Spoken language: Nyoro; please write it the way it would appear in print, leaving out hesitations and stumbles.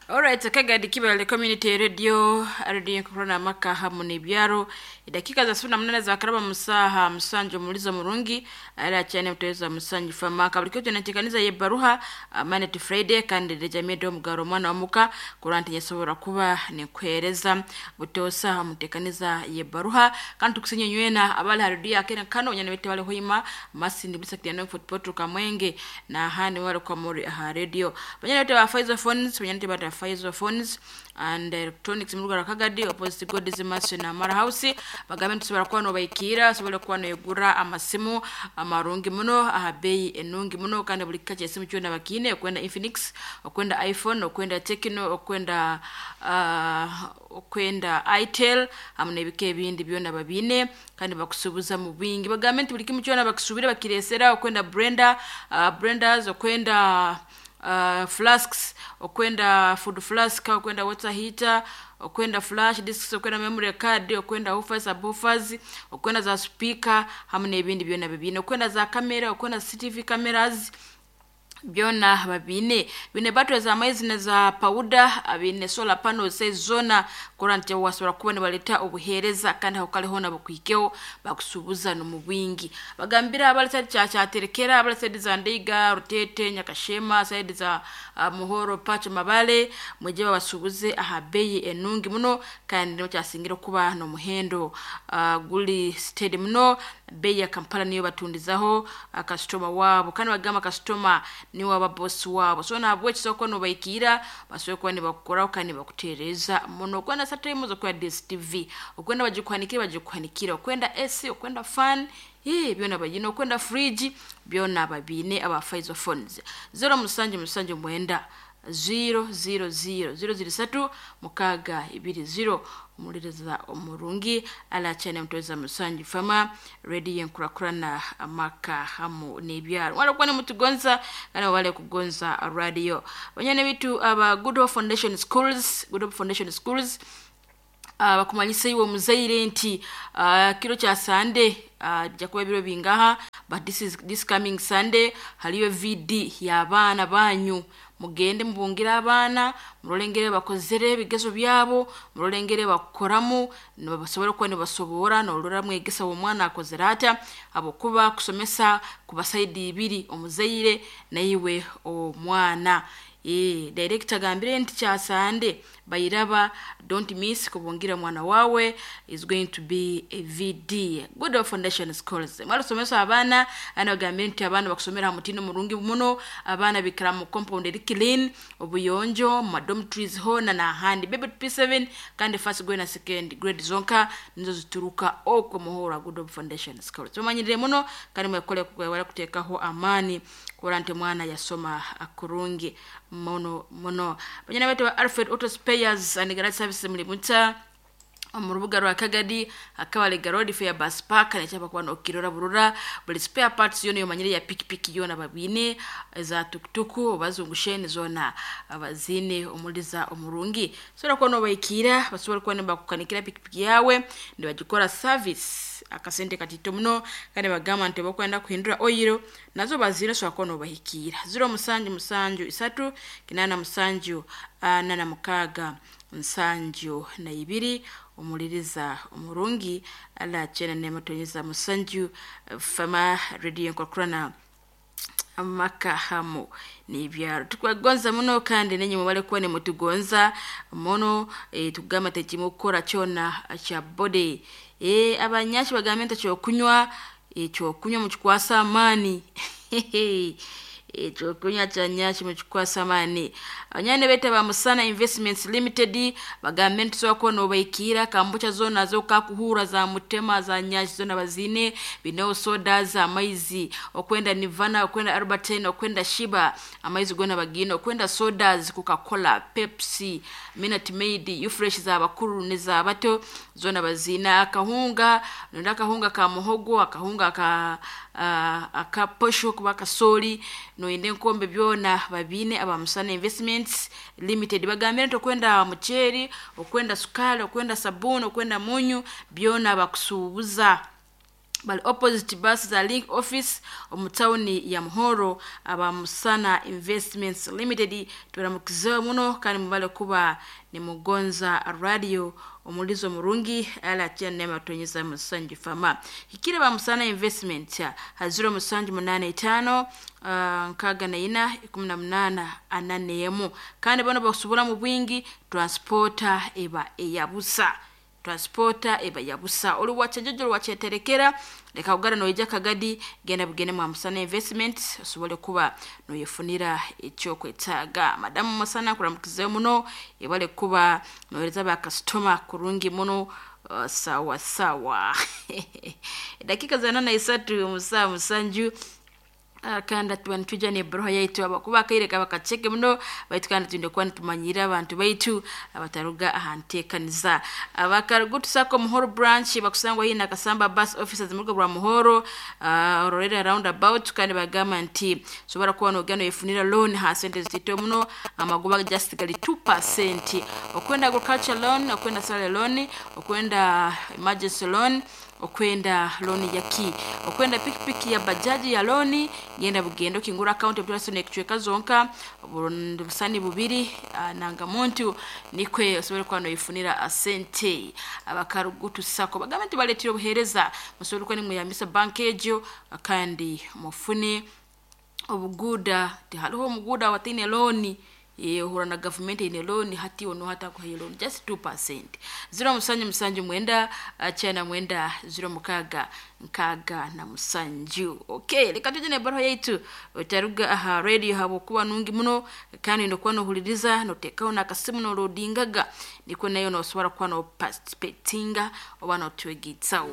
Alright, Kagadi Kibale Community Radio, Radio Corona maka hamu n'ebyaro. Edakika za 18 za karaba musaha musanju mulizo murungi ala cyane muteza musanju famaka buli kyo natekaniza ye baruha Monday to Friday, kandi rejamie mugaro mwana wa muka kuranti nyesobora kuba nikwereza butosa mutekaniza ye baruha. Kandi tukusinye nywena abali harudia akena kano nyana bete bali hoima masindi bisa kiyano football kamwenge na handi wale kwa muri ha radio banyana bete ba Pfizer phones, banyana bete ba Pfizer phones and electronics mu Kagadi opposite God's Mason na Mara House, bagambe tusobora kuba nobaikira sobora kuba noyegura amasimu amarungi muno aha bei enungi muno, kandi buli kika kyesimu kyona bakine, okwenda Infinix, okwenda iPhone, okwenda Tecno, okwenda Itel hamu n'ebika ebindi byona babine, kandi bakusubuza mu bwingi. Bagambe nti buli kimu kyona bakusubire bakiresera, okwenda Brenda, Brendas, okwenda flasks, okwenda food flask, okwenda water heater, okwenda flash disks, okwenda memory card, okwenda woofers, subwoofers, okwenda za speaker hamu n'ebindi byona bibine, okwenda za kamera, okwenda CCTV cameras byona babine. Bine battery za maizi na za powder, bine solar panels zona kuranti wasobora kuba nibaleta obuhereza, kandi aho kale hona bukwikeho bakusubuza no mu bwingi. Bagambira abali side cha chaterekera, abali side za Ndeiga, Rutete, Nyakashema, side za Muhoro, Pacho, Mabale, mweje babasubuze aha bei enungi muno, kandi no kyasingira kuba no muhendo guli steady muno. Bei ya Kampala niyo batundizaho customer wabo, kandi bagamba customer niwe aba boss wabo. So nabwe kisoko no baikira basoboye kuba nibakukoraho kandi bakutereza muno. Okwenda satime zo kwa DSTV, okwenda bagikwanikira bagikwanikira, okwenda AC, okwenda fan hii byona bagine, okwenda fridge byona babine. Aba Pfizer phones 0 musanju musanju mwenda 0 0 0 0 0 3 6 2 0 omuliriza omurungi ala cyane mutweza musanju fama radio enkurakurana amaka hamu n'ebyaro wala kuba mutugonza kana wale kugonza radio banyane bitu aba Good Hope Foundation Schools, Good Hope Foundation Schools bakumanyisa iwe muzaire nti kiro kya Sunday jakuba biro bingaha, but this is this coming Sunday haliyo VD y'abaana banyu. Mugende mubungire abaana, murolengere bakozere ebigezo byabo, murolengere bakukoramu nibasobora kuba nibasobora norora mwegesa omwana akozere ata, abokuba kusomesa kubasaidi ibiri, omuzaire naiwe omwana. Director gambire nti kya Sunday bayiraba, don't miss kubungira mwana wawe, is going to be a VD. Good Hope Foundation Schools mwarusomesa abaana, ana gambire nti abaana bakusomera mutindo murungi muno, abaana bikara mu compound eri clean, obuyonjo mu dormitories hona na handi baby P7 kandi first grade na second grade zonka nizo zituruka okwo muhora Good Hope Foundation Schools. Tumanyirire muno kandi mwekole kukwewala kutekaho amani kora nti mwana yasoma akurungi muno muno. Banyana betu ba Alfred Auto Spares and Garage Services muri muta mu rubuga rwa Kagadi akabale garodi fair bus park nekyapa kuba nokirora burura buli spare parts yona yomanyire ya pikipiki yona babine za tukutuku bazungusheni zona abazine omuliza omurungi sobola kuba nobaikira basobola kuba nibakukanikira pikipiki yawe nibagikora service akasente katito muno, kandi bagamba nti bakwenda kuhindura oyiro nazo bazire sobola kuba nobahikira 0 musanju musanju 3 8 musanju 4 6 nsanju na ibiri omuliriza omurungi ala chena nematonyeza musanju fama radio nkokurana amaka hamu n'ibyaro. Tukwagonza muno kandi nenye mubale kuba ne mutugonza muno. Tugamba tekimukora kyona kya body abanyashi bagambe nti kyokunywa ekyokunywa mukikwasa amaani ekyokunywa kya nyashi mukikwasa amaani. Abanyane bete ba Musana Investments Limited bagambe nti tusobola kuba nobaikira kambucha zona zokakuhura za mutema za nyashi zona bazine bineo soda za amaizi okwenda Nirvana, okwenda Albertine, okwenda Shiba amaizi gona bagine, okwenda sodas Coca-Cola, Pepsi, Minute Maid, Ufresh za bakuru ne za bato zona bazina. Akahunga nonda akahunga ka muhogo, akahunga ka akaposho kuba kasoli noyende nkombe byona babine. Aba Musana Investments Limited bagambire nti okwenda muceeri, okwenda sukali, okwenda sabuni, okwenda munyu byona bakusuubuza. Bali opposite bus za Link office omu tawuni ya Muhoro. Aba Musana Investments Limited turamukizeho muno, kandi mubale kuba nimugonza radio omulizo murungi ala nema tonyeza musanju fama hikire. Ba Musana Investment ha 0785 64 18 41, kandi bano bakusubula mu bwingi. Transporter eba eyabusa, transporter eba yabusa. Oli wachejojo wacheterekera, leka ugara noija kagadi, genda bugende mwa Musana Investment osobole kuba noyefunira ekyokwetaaga. Madamu Musana, kuramukizeyo muno, ebale kuba nohereza ba customer kurungi muno. Sawa sawa, dakika za 43 musaa 7, kandi tuba nitwija nebroha yaitu abakuba akaire kaba kaceke muno baitu, kandi twine kuba nitumanyira abantu baitu abataruga aha nteekaniza. Abakarugutu Sacco Muhoro branch bakusangwa hii Nakasamba bus officers mu rugo rwa Muhoro, ororera roundabout, kandi bagamba nti sobora kuba nogenda noyefunira loan ha sente zitito muno, amagoba just gali 2%. Okwenda agriculture loan, okwenda salary loan, okwenda emergency loan, okwenda loan yaki, okwenda pikipiki ya bajaji ya loan, genda bugendo kingura account ebituraso nekicweka zonka busani bubiri, nanga muntu nikwe osobole kuba noyifunira asente. Abakarugutu Sacco bagambe nti baletire obuhereza, musobole kuba nimweyambisa bank egyo kandi mufune obuguda. Tihariho omuguda wataine loan, ohura na gavumenti eine loan hati ono hatakuhayo loan just 2%. 0779 99 06 67. Okay, reka tuje nebaruha yaitu. Otaruga aha radio habwokuba nungi muno, kandi nokuba nohuliriza notekaho nakasimu nolodingaga, nikwo nayo nosobora kuba noparticipatinga oba notwegitsaho.